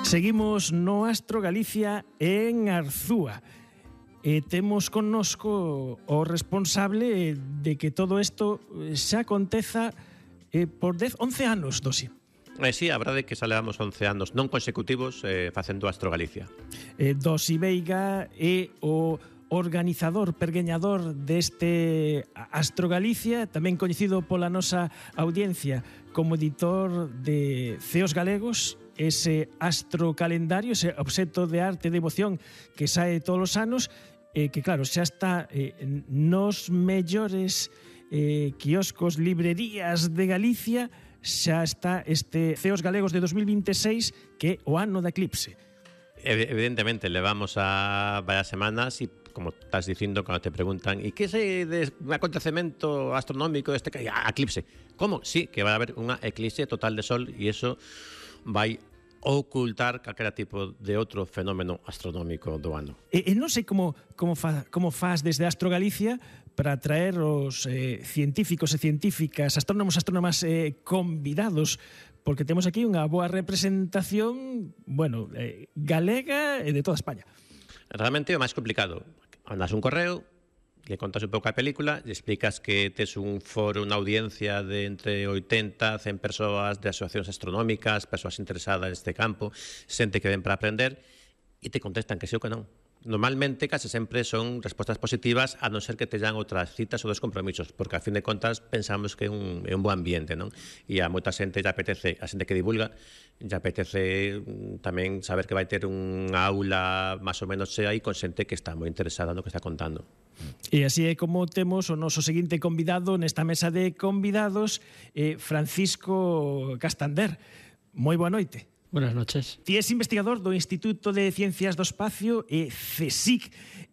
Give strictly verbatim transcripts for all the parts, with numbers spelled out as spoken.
Seguimos no Astro Galicia en Arzúa. E temos connosco o responsable de que todo isto xa aconteza eh, por dez, once anos, Dosi. Eh, sí, a verdade é que xa levamos once anos non consecutivos eh, facendo Astro Galicia. Eh, Dosi Veiga é o organizador, pergueñador deste Astro Galicia, tamén coñecido pola nosa audiencia como editor de Ceos Galegos, ese astro calendario, ese obxecto de arte e devoción que sae todos os anos, eh, que claro, xa está eh, nos mellores eh, quioscos, librerías de Galicia, xa está este Ceos Galegos de dos mil vinte e seis, que é o ano da eclipse. Evidentemente, levamos a varias semanas e, como estás dicindo, cando te preguntan e que é de un acontecemento astronómico deste que a eclipse? Como? Sí, que vai haber unha eclipse total de sol e iso vai ocultar calquera tipo de outro fenómeno astronómico do ano. E, e non sei como, como, fa, como faz desde Astro Galicia para traer os eh, científicos e científicas, astrónomos e astrónomas eh, convidados, porque temos aquí unha boa representación, bueno, eh, galega e de toda España. Realmente é o máis complicado. Andas un correo, le contas un pouco a película, le explicas que tes un foro, unha audiencia de entre oitenta a cen persoas de asociacións astronómicas, persoas interesadas neste campo, xente que ven para aprender, e te contestan que sí ou que non. Normalmente, case sempre son respostas positivas, a non ser que te dan outras citas ou dos compromisos, porque, a fin de contas, pensamos que é un, é un bo ambiente, non? E a moita xente lle apetece, a xente que divulga, lle apetece tamén saber que vai ter unha aula máis ou menos chea e con xente que está moi interesada no que está contando. E así é como temos o noso seguinte convidado nesta mesa de convidados, eh, Francisco Castander. Moi boa noite. Buenas noches. Ti és investigador do Instituto de Ciencias do Espacio e CSIC,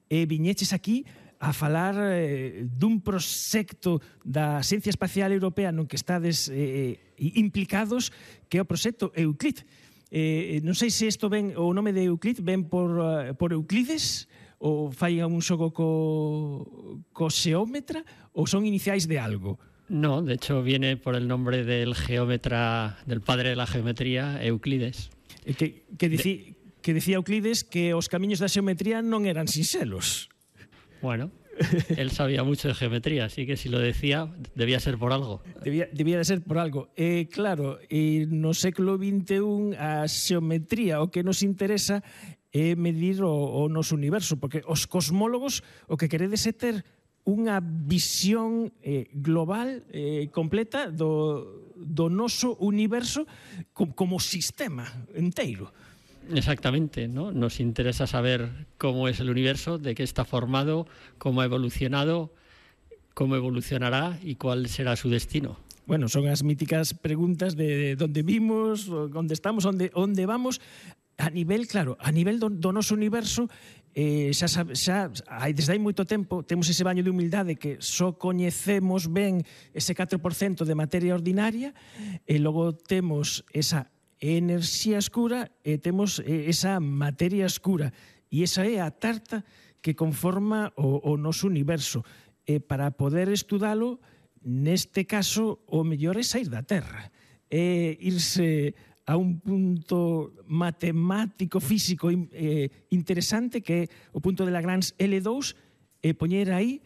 e viñeches aquí a falar eh, dun proxecto da Ciencia Espacial Europea non que estades eh, implicados, que é o proxecto Euclid. Eh, non sei se isto ven, o nome de Euclid ven por, uh, por Euclides, ou fai un xogo co, co xeómetra, ou son iniciais de algo? No, de hecho viene por el nombre del geómetra, del padre de la geometría, Euclides. Que, que, dicí, de... que decía Euclides que os camiños da xeometría non eran sinxelos. Bueno, él sabía mucho de geometría, así que si lo decía, debía ser por algo. Debía, debía de ser por algo. Eh, claro, eh, no século vinte e un a xeometría o que nos interesa é medir o, o noso universo, porque os cosmólogos o que queredes é ter unha visión eh, global, eh, completa do, do noso universo como, como sistema inteiro. Exactamente, ¿no? Nos interesa saber cómo es el universo, de qué está formado, cómo ha evolucionado, cómo evolucionará y cuál será su destino. Bueno, son as míticas preguntas de dónde vimos, onde estamos, onde, onde vamos. A nivel, claro, a nivel do, do noso universo, eh, xa, xa hai, desde hai moito tempo temos ese baño de humildade que só coñecemos ben ese catro por cento de materia ordinaria, e logo temos esa enerxía escura e temos eh, esa materia escura, e esa é a tarta que conforma o, o noso universo. E para poder estudalo, neste caso, o mellor é sair da Terra, é irse a un punto matemático, físico eh, interesante, que é o punto de Lagrange L dous, e poñer aí